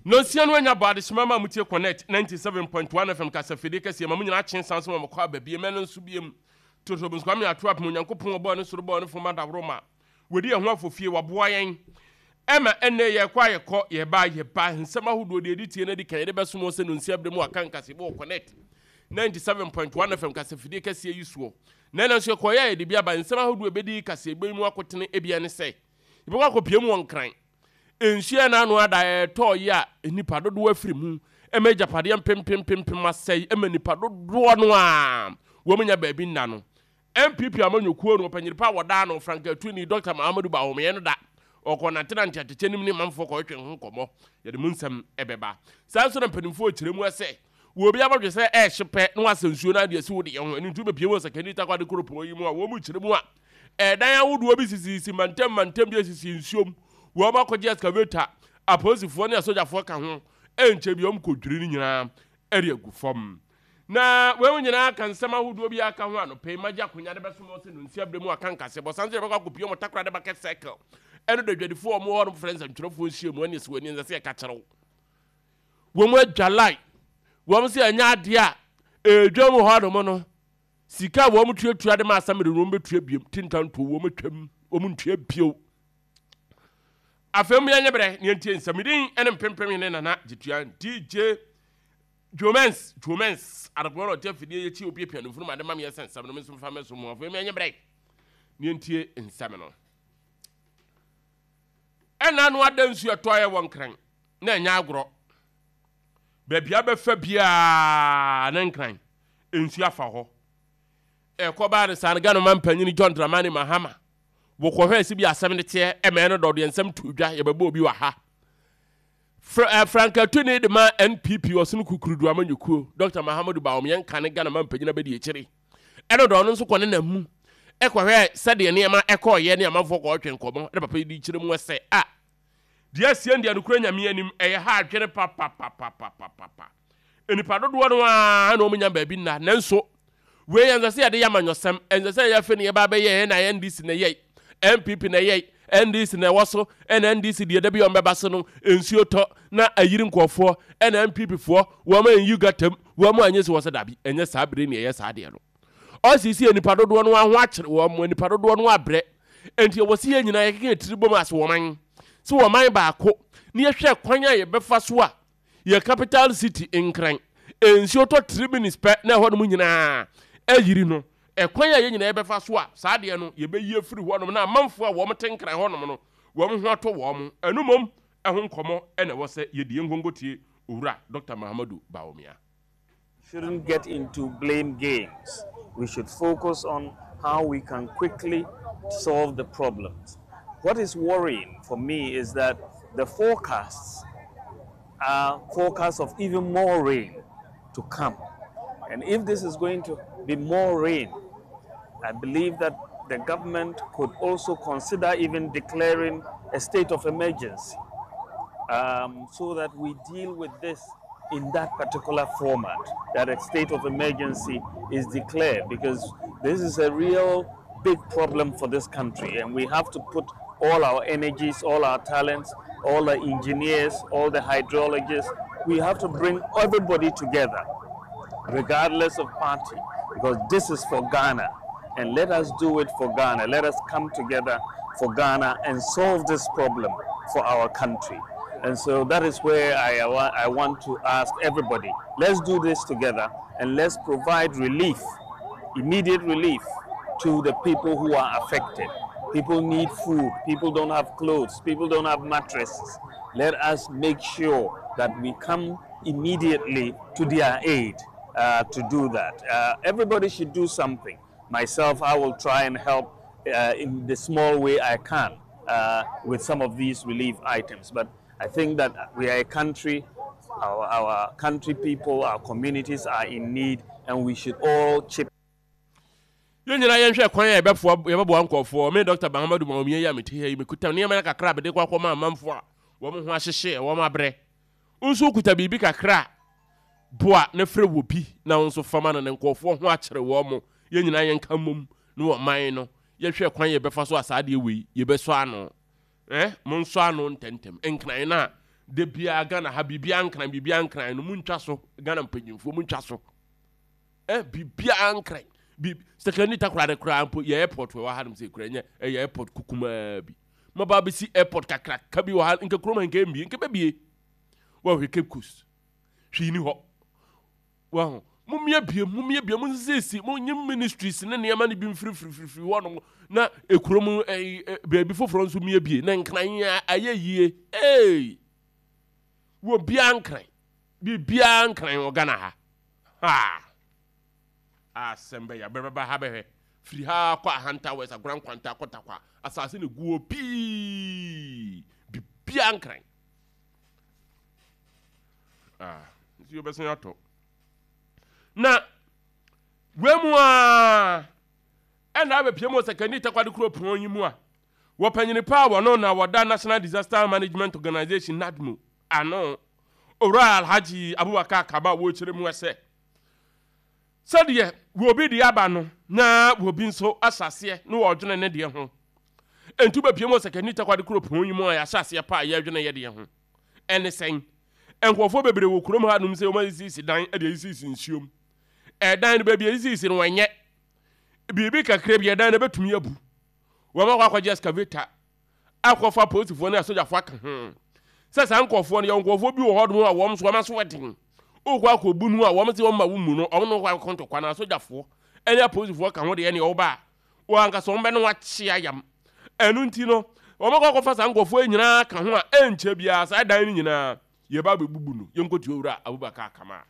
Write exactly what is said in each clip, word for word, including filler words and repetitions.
Nonsia no anya bɔ adehyema ma mutie Connect ninety-seven point one F M kasafidie kɛseɛ ma mo nyinaa kye nsan so ma mɔkɔ aba biem. Ɛno nso biem totobo nso Kwame ato apem Onyankopɔn ɔbɔɔ ne soro bɔɔ ne fam adaworo ma wɔdi ɛho afɔfie waboa yɛn ɛma ɛnnɛ yɛkɔ a yɛkɔ, yɛba yɛba. Nsɛm ahodoɔ deɛ ɛdi tie no adi kan yɛde bɛsom wɔ sɛ nonsia berɛ mu aka nkasebɔ wɔ Connect ninety-seven point one F M kasafidie kɛseɛ yi soɔ. Na ɛno nso yɛkɔyɛ a yɛde bi aba. Nsɛm ahodoɔ ɛbɛdi kaseɛbɔ yi mu akotene ebia ne sɛ yɛbɛkɔ akɔpie mu wɔ Nkran. Nsuo na ano ada ɛtɔɔ yi a nipa dodoɔ afiri mu ɛma agyapadeɛ mpempempempem asɛe, ɛma nipa dodoɔ no a wɔn nya baabi nna no. N P P amanyɔkuo no ɔpanyini pa a wɔdaa no frankatuni Doctor Mahamudu Bawumia no da ɔkɔ nantenante atɛkyɛ nim ne manfoɔ kɔhwehwɛ ho nkɔmmɔ. Yɛde mu nsɛm ɛbɛba. Saa nso na mpanimfoɔ kyerɛ mu sɛ wɔ obi abɔdwe sɛ ɛɛhye pɛ na wasɛ nsuo no adeɛ si wo deɛ ho. Ɛno nti wobɛpie mu wɔ Sekondi Takoradi kuropɔn yi mu a wɔn mu kyerɛ mu a ɛdan ahodoɔ bi sisisi mantam mantam bi asisi nsuom. Wɔn akɔgye excavator, apolisifoɔ ne asogyafoɔ ka ho. Ɛnkyɛ bi wɔn kɔdwiri no nyinaa ɛde agu fam. Na wɔn nyinaa ka nsɛm ahodoɔ bi aka ho anɔpɛ yi magye akonnwa de bɛsom wɔ sɛ nonsia berɛ mu aka nkasɛ bɔ san so yɛbɛkɔ akɔpie wɔn Takoradi Market Circle ɛno da adwadifoɔ a wɔn hɔ no frɛ nsɛntwerɛfoɔ nhyia mu ɛne sɛ wɔn ani nsɛ sɛ yɛka kyerɛw wɔn mu adwa line wɔn sɛ ɛnyɛ adeɛ a ɛdwa mu hɔ nom no sika a wɔn tuatua de ma asamere no wɔn bɛtua biem tintanto wɔn atwam wɔn ntua bio. Afei mu yɛnyɛ berɛ ne yɛntie nsɛmidin ne mpempem ne Nana Gyetua D J Jomens Jomens adekoɔ na ɔte afidie yɛkyi opiapia no mfunum ade ma meyɛ sɛ nsɛm no me nso mfa mɛso mu. Afei mu yɛnyɛ berɛ ne yɛntie nsɛm no. Ɛna no ada nsuo ɛtɔeɛ wɔ Nkran na ɛnyɛ agorɔ. Baabi abɛfa biara ne Nkran nsuo afa hɔ. Ɛkɔ baa ne saa no, Ghana man panyini John Dramani Mahama wɔkɔhwɛ sɛ bi asɛm no teɛ ɛmɛn no dɔdeɛ nsɛm to dwa. Yɛbɛbɔ obi wɔ ha. Frankatuni de ma N P P ɔsono kukurudu amanyɔkuo Doctor Mahamudu Bawumia yɛnka ne Ghana man panyin abɛdi akyire. Ɛno dɔ ɔno nso kɔ ne nam mu ɛkɔhwɛ sɛdeɛ nneɛma ɛkɔɔyɛ ne amanfoɔ kɔɔtwe nkɔmmɔ ne papa yi di kyerɛ mu sɛ a deɛ asie deɛ nokora Nyame anim ɛyɛ ha adwene papapapapapa. Nipa dodoɔ no ara na wɔn nya baabi nna, nanso wei yɛn sɛ yɛde yɛ amanyɔsɛm ɛnsɛ sɛ yɛfɛ ne yɛba bɛyɛ ɛna N D C na ɛyɛ N P P na ɛyɛ N D C na ɛwɔ so ɛna N D C deɛ dabi wɔn bɛba so no nsuo tɔ na ayiri nkɔɔfoɔ ɛna N P P foɔ wɔn anyi gatam wɔn anyɛ si wɔ sɛ dabi ɛnyɛ saa bere ne ɛyɛ saa deɛ no. Ɔsisi nipa dodoɔ no ho akyere wɔn, nipa dodoɔ no abrɛ, nti ɛwɔ si yɛn nyinaa yɛkeka tiri bom ase wɔn man sɛ wɔn man baako ne yɛhwɛ kwan a yɛbɛfa so a yɛ capital city Nkran nsuo tɔ three minutes pɛ na ɛhɔ nom nyinaa ayiri no. Ɛkwan a yɛn nyinaa yɛbɛfa so a saa adeɛ no yɛbɛyi afiri hɔnom na amanfoɔ a wɔn te Nkran hɔnom no wɔn ho atɔ wɔn ɛno mmom ɛho nkɔmmɔ ɛna ɛwɔ sɛ yɛdi. Yɛn nkonko tie Owura Doctor Mahamadu Bawumia. Shouldn't get into blame games. We should focus on how we can quickly solve the problems. What is worrying for me is that the forecasts are forecasts of even more rain to come. And if this is going to be more rain, I believe that the government could also consider even declaring a state of emergency um, so that we deal with this in that particular format, that a state of emergency is declared, because this is a real big problem for this country, and we have to put all our energies, all our talents, all the engineers, all the hydrologists, we have to bring everybody together, regardless of party, because this is for Ghana. And let us do it for Ghana. Let us come together for Ghana and solve this problem for our country. And so that is where I, I want to ask everybody, let's do this together and let's provide relief, immediate relief to the people who are affected. People need food, people don't have clothes, people don't have mattresses. Let us make sure that we come immediately to their aid uh, to do that. Uh, everybody should do something. Myself, I will try and help uh, in the small way I can uh, with some of these relief items. But I think that we are a country, our, our country people, our communities are in need, and we should all chip Yɛn nyinaa yɛnhwɛ kwan a yɛbɛfoa yɛbɛboa nkɔɔfoɔ. Me Doctor Mahamadu Bawumia yi a mete ha yi mekuta nneɛma no kakra a mede kɔ akɔma amanfoɔ a wɔn ho ahyehye wɔn abrɛ. Nso kuta biribi kakra a boa ne frɛ wɔ bi na wo nso fama no ne nkɔɔfoɔ ho akyerɛ wɔn mo. Yɛn nyinaa yɛnka mmom ne wɔ man no yɛhwɛ kwan yɛbɛfa so a saa adeɛ wei yɛbɛsɔ ano. Eh, mo nsɔ ano ntɛntɛm. Nkran no a Da biara Ghana ha biribiara nkran, biribiara nkran no, muntwa so. Ghana mpanyimfoɔ, muntwa so. Eh, biribiara nkran. Bi Sekondi Takoradi koraa mpo yɛ airport wɔ ha nom sɛ kura nyɛ ɛyɛ airport kukumaa bi. Maba bɛsi airport kakraka bi wɔ ha, nka kurom ha nka mbie, nka bɛbie. Wɔhwɛ Cape Coast. Hwee ni hɔ. Wɔho. Mummie bie, mummie bie, munsiesie, munyi ministries ne nneɛma no bi mfirifirifiri hɔ nom na ekurom ɛyi baabi foforɔ nso mmie bie na nkran ayɛ yie. Ee! Wɔ biara nkran. Biribiara nkran wɔ Ghana ha. Ha! Asɛm bɛyɛ bɛbɛba ha bɛhwɛ. Firi ha kɔ Ahanta West, Agora Nkwanta, kɔ Tarkwa. Asase no gu hɔ pii. Biribiara nkran. Ah, nti yɛbɛsan atɔ. Na wei mu a ɛna abɛpie mu wɔ Sekondi Takoradi kuropɔn yi mu a wɔpanyini paa wɔno na wɔda National Disaster Management Organization, NADMO, ano, Owura Alhaji Abubakar Kaba, wɔrekyerɛ mu sɛ sɛdeɛ wɔbi de aba no na wɔbi nso ahyɛ aseɛ na wɔredwene ne deɛ ho. Nti wobɛpie mu wɔ Sekondi Takoradi kuropɔn yi mu a yɛahyɛ aseɛ pa a yɛredwene yɛ deɛ ho. Ɛne sɛn? Nkurɔfoɔ bebree wɔ kurom ha nom sɛ wɔn asisisi dan de asisisi nsuom. Ɛdan no, baabi a asisisi no, wɔnyɛ biribi kakra bi, ɛdan no bɛtumi abu. Wɔn akɔ akɔgye excavator akɔfa apolisifoɔ ne asogyafoɔ aka ho sɛ saa nkurɔfoɔ no yɛ nkurɔfoɔ bi wɔ hɔ nom a wɔn nso wɔn aso ɛden. Wokɔ akɔbu no a, wɔn sɛ wɔn ma wo mu no, wɔn no kɔ akɔ ntɔkwa na asogyafoɔ ɛne apolisifoɔ ka ho deɛ, ɛne ɔba a wɔn ankasa wɔn bɛ no akye ayam. Ɛno nti no wɔn akɔ akɔfa saa nkurɔfoɔ yi nyinaa ka ho a ɛnkyɛ biara saa dan no nyinaa yɛba abɛbubu no. Yɛnkɔtua Owura Abubakar Kama.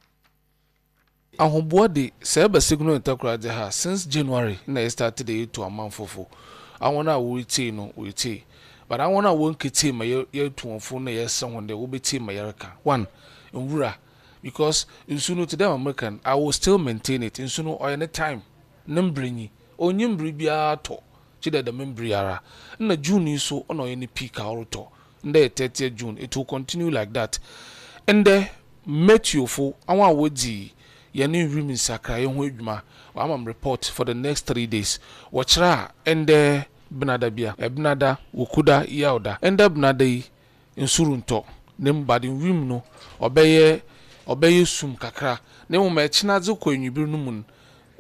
Ahoboa de, sɛ ɛba Sekondi Takoradi ha, since January na yɛ start de yɛtu amanfofo. Awon a wɔretie no wɔretie, but awon a wɔnketie ma yɛtu wɔn fo na yɛsrɛ wɔn dɛ wɔbɛtie ma yɛreka. One, nwura, because nsu no te dɛ American, I will still maintain it. Nsu no ɔyɛ ne time ne mbere nyi onyi mbere biara tɔ kyi dɛ dɛm mbere ara na June yi so ɔna ɔyɛ ne peak a ɔretɔ. Ndɛ yɛ thirtieth June, it will continue like that. Ndɛ meteofo awon a wɔdzi yɛne nwim nsakraeɛ ho adwuma wama m report for the next three days. Wɔkyerɛ a ɛndɛ benada bia ɛbenada wokuda yawda. Ɛndɛ benada yi nsu rentɔ na mu bade nwim no ɔbɛyɛ ɔbɛyɛ sum kakra, na mmom ɛkyena dze kɔ enwibiri no mu no,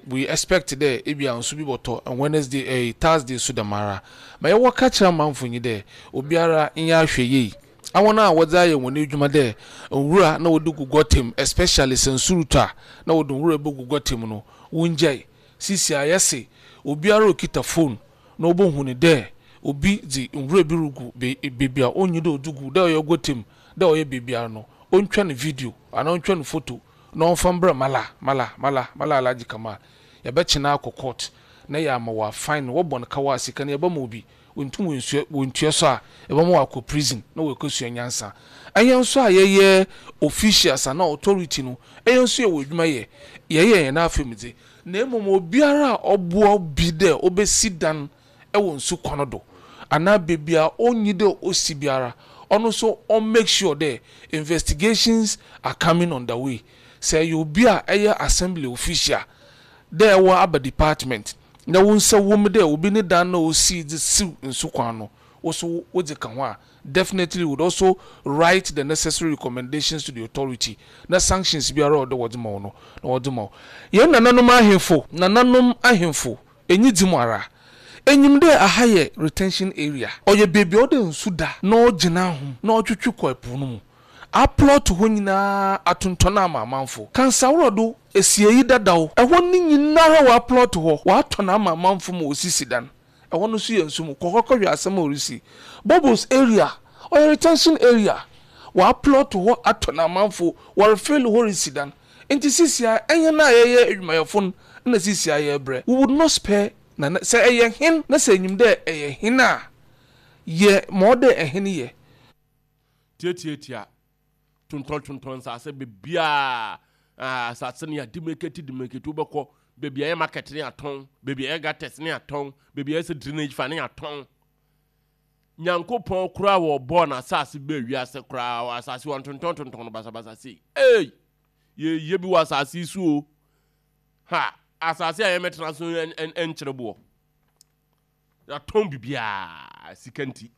we expect dɛ ebi a nsu bi bɔtɔ. And Wednesday, ɛɛ Thursday so dɛm ara. Ma yɛwɔ ka kyerɛ amanfo nyi dɛ obiara nyɛ ahwɛ yie. Awon a wɔdze ayɛ wɔn adwuma dɛ nwura na wɔde gu gɔtɛm, especially sɛ nsu retɔ a na wɔde nwura bɛgu gɔtɛm no, wɔngyae. Sisi a yɛse obiara okita phone na ɔbɛhu ne dɛ obi dze nwura bi regu beebi a onnyi dɛ ɔdze gu, dɛ ɔyɛ gɔtɛm, dɛ ɔyɛ beebiara no, ɔntwa ne video anaa ɔntwa ne photo na ɔmfa mbrɛ mala mala mala mala Alhaji Kamal. Yɛbɛkyena akɔ court na yɛ ama wɔ fine no, wɔbɔ no kawa sika no yɛbɛma obi wɔntum wɔnsua wɔntua so a, yɛbɛma wakɔ prison na wɔakɔsua nyansa. Ɛyɛ nso a yɛyɛ officials ana authority no, ɛyɛ nso yɛwɔ adwuma yɛ yɛyɛ yɛn afɛm dze, na mmom obiara a ɔboa bi dɛ ɔbɛsi dan ɛwɔ nsu kwan do anaa beebi a ɔnyi dɛ ɔsi biara, ɔno nso ɔn make sure dɛ investigations are coming on the way. Sɛ ɛyɛ obi a ɛyɛ assembly official dɛ ɛwɔ aba department na wo nsa wɔ mu dɛ obi ne dan na osi dze siw nsu kwan no, woso wodze ka ho a, definitely would also write the necessary recommendations to the authority na sanctions biara a ɔde wɔdze ma wo no na wɔdze ma wo. Yɛn nananom ahemfo, nananom ahemfo enyi dzi mu ara enyim dɛ aha yɛ retention area, ɔyɛ beebi a ɔde nsu da na ɔgyina ho na ɔtwitwi kɔ ɛpo no mu. A plot hɔ nyinaa atontɔn ama amanfo kansaworɔ do esieyi dadaw ɛhɔ ne nyinara wɔ a plot hɔ wɔatɔn ama amanfo ma osisi dan. Ɛhɔ no nso yɛ nsu mu kɔkɔkɔ. Hwɛ asɛm a ɔresi Bubbles area, ɔyɛ retention area, wɔa plot hɔ atɔn amanfo, wɔre fill hɔ resi dan. Nti sisi a ɛnyɛ na yɛyɛ adwumayɛfo no na sisi a yɛrebrɛ, we would not spare. Na sɛ ɛyɛ hen na sɛ enyim dɛ ɛyɛ hen a yɛ ma ɔdɛ ɛhen yɛ. Tiatiatia tontɔn tontɔn nsase beebiaa, asase no yɛ demarcate demarcate. Wobɛkɔ beebi a ɛyɛ market ne atɔn, beebi a ɛyɛ gutters ne atɔn, beebi a ɛyɛ sɛ drainage fa ne atɔn. Nyankopɔn koraa wɔ bɔɔ na asase bɛɛ wiase koraa, asase wɔn tontɔn tontɔn no basabasa sei. Ee, yɛyɛ bi wɔ asase yi so o. Ha asase a yɛmɛtena so nkyerɛ boɔ, yɛatɔn bibiaa sika nti.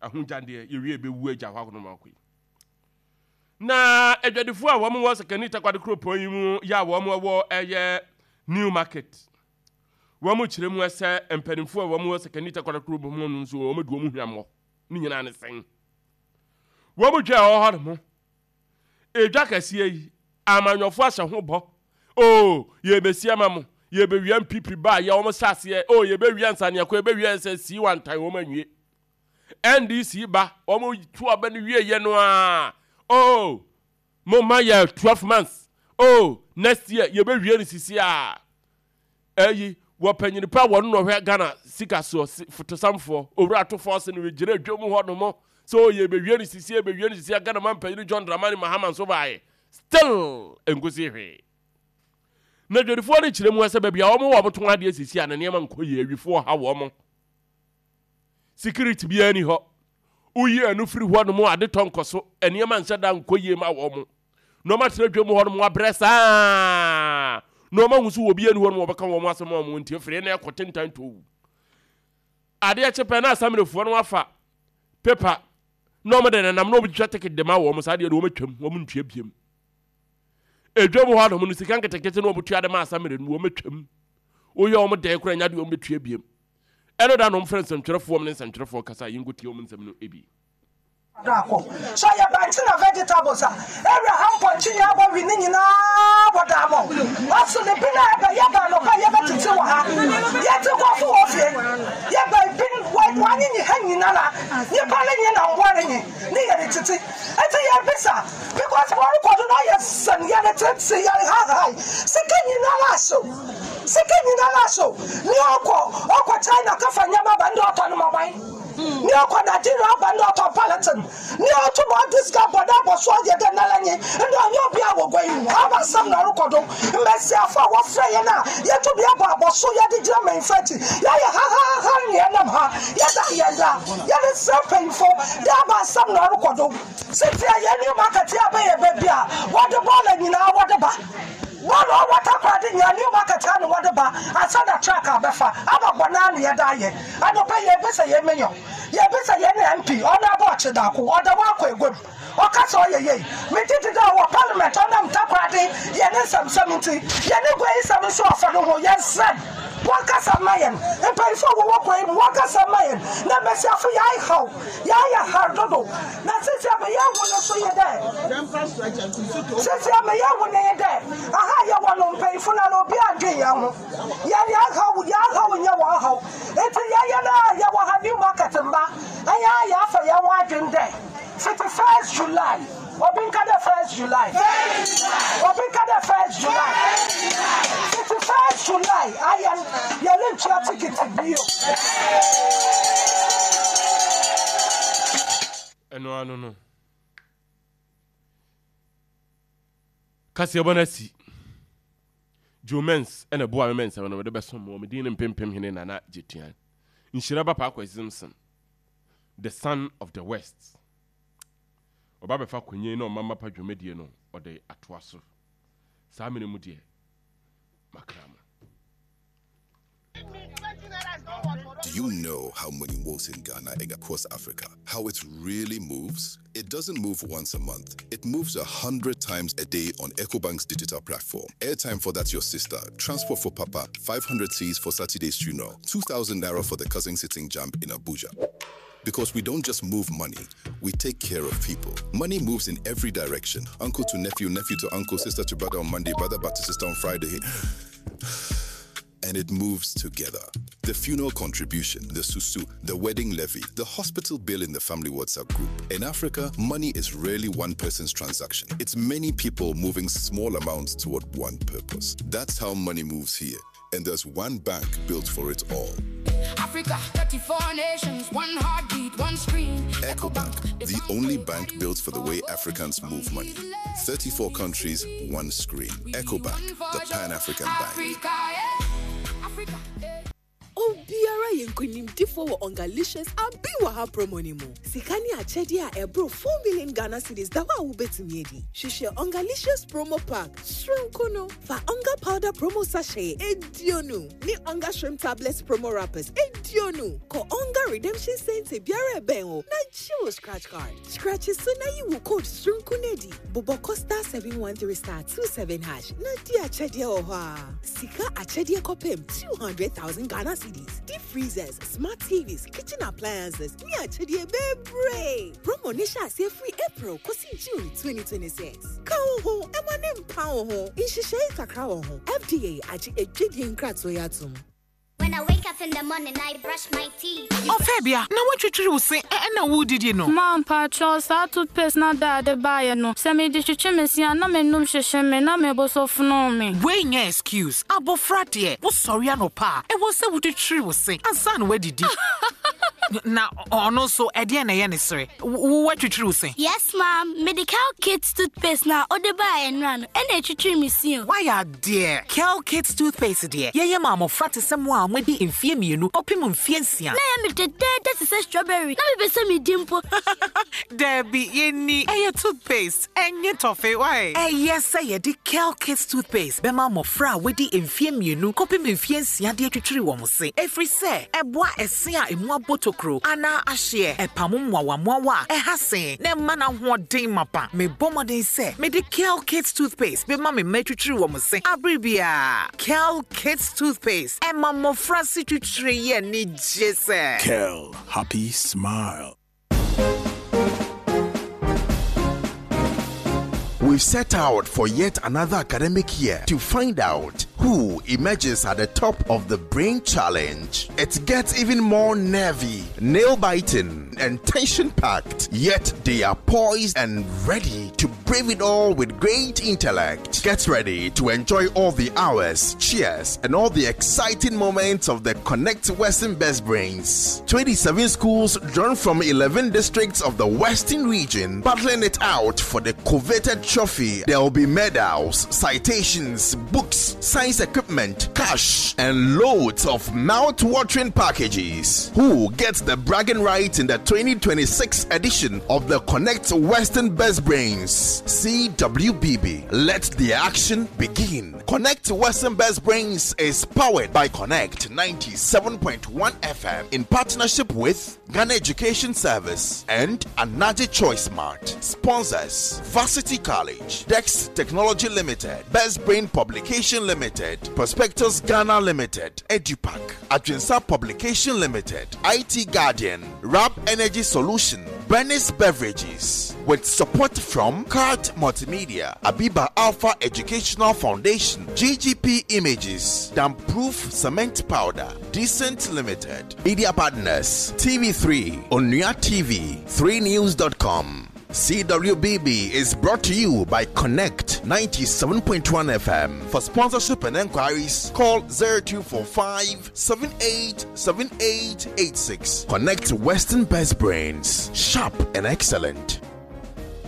Ahogyadeɛ yɛwie bɛwu agya hɔ akonom akɔ yi. Na adwadifoɔ a wɔn wɔ Sekani Takoradi kuropɔn yi mu yɛ a wɔn wɔ ɛyɛ New Market. Wɔn kyerɛ mu sɛ mpanimfoɔ a wɔn wɔ Sekani Takoradi kuropɔn mu no nso wɔn adi wɔn hwammɔ. Ne nyinaa ne sɛn. Wɔn dwa a ɛwɔ hɔ nom. Edwa kɛseɛ yi, amanyɔfoɔ ahyɛ ho bɔ. Oh, yɛbɛsi ama mo. Yɛbɛwia N P P ba yɛ wɔn hyɛ aseɛ. Oh, yɛbɛwia nsaneɛkɔ, yɛbɛwia S S C wantan wɔn anwie. N D C ba, wɔn tu aba no wie yɛ no a. Oh, mo ma yɛ twelve months. Oh, next year yɛbɛwie no sisi a. Ɛyi, wɔ panyin pa wɔn na ɔhwɛ Ghana sika soɔ fotosamfoɔ owura ato force no gyina dwom hɔ nom so yɛbɛwie no sisi, yɛbɛwie no sisi a. Ghana man panyin John Dramani Mahama nso baayɛ, still nkosi hwee. Na dwadifoɔ no kyerɛ mu sɛ baabi a wɔn wɔ wɔn tɔn adeɛ sisi a na nneɛma nkɔ yie. Awifoɔ ha wɔn, security biara ni hɔ. Woyi ɛno firi hɔ nom, ade tɔ nkɔ so, nneɛma nhyɛ da nkɔ yie ma wɔn na wɔn atena dwam hɔ nom abrɛ saa na wɔn ahu so wɔ bi ani hɔ nom wɔbɛka wɔn asɛm a wɔn ntie firi na ɛkɔ tentan tow. Adeɛ kye pɛ na asamrefoɔ no afa paper na wɔn de nenam na wɔn twitwa ticket de ma wɔn. Saa deɛ no wɔn atwam, wɔn ntua biem. Edwam hɔ nom no, sika nketenkete na wɔn tua de ma asamre no, wɔn atwam. Woyɛ wɔn dɛn koraa nya deɛ wɔn bɛtua biem. Ɛno da na wɔn frɛ nsɛmtwerɛfoɔ ne nsɛmtwerɛfoɔ kasa. Yi nkotie wɔn nsɛm no ebi. Akɔ so yɛ bankye na vegetables a ewura ha, mpɔnkye nyinaa bɔ wi ne nyinaa bɔ daamɔ ɔso ne bi na ɛbɛ yɛba anɔpa yɛbɛtete wɔ ha, yɛte kɔfo wɔ fie, yɛba bi wanyenye ha nyinara, nipa ne nye na mboa ne nye ne yɛde tete. Eti yɛbisa because wɔrekɔ do na ɔyɛ sɛn yɛde tete yɛde hahae sika nyinara ahyew, sika nyinara ahyew. Ne ɔkɔ ɔkɔ China kafa nneɛma ba ne ɔtɔ no ma ne ɔkɔ Nigeria aba ne ɔtɔ palatine ne ɔto ma ɔde sika bɔ ne abɔ so ɔyɛ dɛ nala nye ndɛ ɔnyɛ obi a wɔ gua yi mu aba asɛm na ɔrekɔ do. Mmesiafo a wɔfrɛ yɛn a yɛto bi abɔ abɔ so yɛde gyina mmanyinfo akyi, yɛayɛ hahaha ne yɛnam ha yɛda yɛn da yɛde srɛ mpanyinfo de aba asɛm na ɔrekɔ do. Sisi a yɛn new market yɛ abɛyɛ baabi a wɔde bɔɔla nyinaa wɔde ba, bɔɔla ɔwɔ Takoradi nyinaa new market ha na wɔde ba asa na truck abɛfa aba bɔ naa ne yɛda ayɛ anɔpɛ. Yɛbisa yɛn mayor, yɛbisa yɛn ne M P ɔno abɔ ɔkye daako ɔda wakɔ eguam ɔka sɛ ɔyɛ yei megye di dɛ ɔwɔ parliament ɔnam Takoradi yɛne nsɛmsɛm nti yɛne gua yi sɛm nso ɔfa no ho. Yɛnsrɛ wɔnkasa mma yɛn mpanyinfoɔ a wɔwɔ gua yi mu, wɔnkasa mma yɛn na mmesiafo yɛahaw yɛayɛ har dodo. Na sisi a meyɛ hu no so yɛ dɛ, sisi a meyɛ hu no yɛ dɛ aha yɛwɔ no mpanyinfo no na obi adwe yɛn ho, yɛn yɛahaw yɛahaw nyɛ wɔn haw. Nti yɛyɛ no a yɛwɔ ha new market mba ɛyɛ a yɛafa yɛn ho adwen dɛ fiti first July, obi nka dɛ first July, obi nka dɛ first July, fiti first July ayɛ yɛne ntua tikiti bio. Ɛno ano no kaseɛbɔ no asi. Joe Mens ɛna boa me mɛnsɛm no mede bɛsom wɔ medin no mpempem hene Nana Gyetuan Nhyira ba Paakɔ Simpson, the son of the West. Ɔba bɛfa akonnwa yi na ɔma mapa dwumadie no ɔde atoa so. Saa mene mu deɛ makra mo. Do you know how money moves in Ghana and across Africa? How it really moves? It doesn't move once a month. It moves a hundred times a day on EcoBank's digital platform. Airtime for that your sister, transport for Papa, five hundred cedis for Saturday's funeral, two thousand naira for the cousin sitting JAMB in Abuja. Because we don't just move money, we take care of people. Money moves in every direction. Uncle to nephew, nephew to uncle, sister to brother on Monday, brother back to sister on Friday, and it moves together. The funeral contribution, the susu, the wedding levy, the hospital bill in the family WhatsApp group. In Africa, money is rarely one person's transaction. It's many people moving small amounts toward one purpose. That's how money moves here. And there's one bank built for it all. Africa, thirty-four nations, one heartbeat, one screen. EcoBank, the only bank built for the way Africans move money. thirty-four countries, one screen. EcoBank, the Pan African bank. Africa, yeah. Africa, yeah. Obiara Woayɛ nkonimdifoɔ wɔ Ongalicious Abi wɔ ha promo no mu. Sika ne akyɛdeɛ a ɛboro four million Ghana cedis da hɔ a wobɛtumi adi. Hwehwɛ Ongalicious promo pack soronko no. Fa Onga powder promo sachet aduonu ne Onga shrimp tablets promo wrappers aduonu. Kɔ Onga redemption center biara ɛbɛn wo na gye wo scratch card. Scratch so na yi wo code soronko no adi. Bobɔ kɔ star seven one three star two seven hash na di akyɛdeɛ wɔ hɔ a. Sika akyɛdeɛ kɔpem two hundred thousand Ghana cedis. Deep freezers, smart T Vs, kitchen appliances ne akyɛdeɛ bebree. Promo ne hyɛ aseɛ firi April kɔsi June twenty twenty-six. Ka wo ho ɛma ne mpa wo ho. Nhyehyɛe kakra wɔ ho. F D A agye adwadie nkratoɔ yi atom. When I wake up in the morning, I brush my teeth. Ɔfɛ na woatwitwiri wo se ɛna wodidi no. Ma mpakyɛw, saa toothpaste na daade baeɛ no, sɛ mede twitwi me se a, na m'anum hyehyɛ me na mebo so fono me. Wei nyɛ excuse. Abɔfra deɛ, wosɔre anɔpa a, ɛwɔ sɛ wotwitwiri wo se ansa na woadidi. Na ɔno nso, ɛdeɛn na ɛyɛ ne sere? Wo woatwitwiri wo se? Yes, ma'am. Mede Kel Kids toothpaste na ɔde baeɛ nnora no, ɛna ɛtwitwi me se o. Wayɛ adeɛ. Kel Kids toothpaste deɛ, yɛyɛ ma mmɔfra te sɛ mo a moadi mfeɛ mmienu kɔpem mfeɛ nsia. Na ɛyɛ me dɛdɛɛdɛ te sɛ strawberry. Na mepɛ sɛ medi mpo. Daabi, yɛnni. Ɛyɛ toothpaste, ɛnyɛ tɔfe wae. Ɛyɛ sɛ yɛde Kel Kids toothpaste bɛma mmɔfra a wɔadi mfeɛ mmienu kɔpem mfeɛ nsia de atwitwiri wɔn se, ɛfiri sɛ ɛboa ɛse a emu abɔ tokuro anaa ahyeɛ, ɛpam mmoawammoawa a ɛha se, na ɛma n'ahoɔden mapa. Mebɔ mmɔden sɛ mede Kel Kids toothpaste bɛma me mma atwitwiri wɔn se abere biara. Kel Kids toothpaste ɛma mmɔfra se twitwiri yɛ anigye sɛ Kel, happy smile. We've set out for yet another academic year to find out who emerges at the top of the Brain Challenge. It gets even more nervy, nail biting, and tension packed, yet they are poised and ready to brave it all with great intellect. Get ready to enjoy all the hours, cheers, and all the exciting moments of the Connect Western Best Brains. twenty-seven schools drawn from eleven districts of the Western region battling it out for the coveted trophy. There will be medals, citations, books, science equipment, cash, and loads of mouth-watering packages. Who gets the bragging rights in the twenty twenty-six edition of the Connect Western Best Brains? C W B B. Let the action begin. Connect Western Best Brains is powered by Connect ninety-seven point one F M in partnership with Ghana Education Service and Anaji Choice Mart. Sponsors: Varsity College, Dex Technology Limited, Best Brain Publication Limited, Prospectus Ghana Limited, Edupac, Adrinsa Publication Limited, I T Guardian, Rap Energy Solution, Bernice Beverages, with support from Card Multimedia, Abiba Alpha Educational Foundation, G G P Images, Damproof Cement Powder, Decent Limited, Media Partners, T V three, Onua T V, three news dot com. C W B B is brought to you by Connect ninety-seven point one F M. For sponsorship and enquiries, call zero two four five seven eight seven eight eight six. Connect Western Best Brains, sharp and excellent.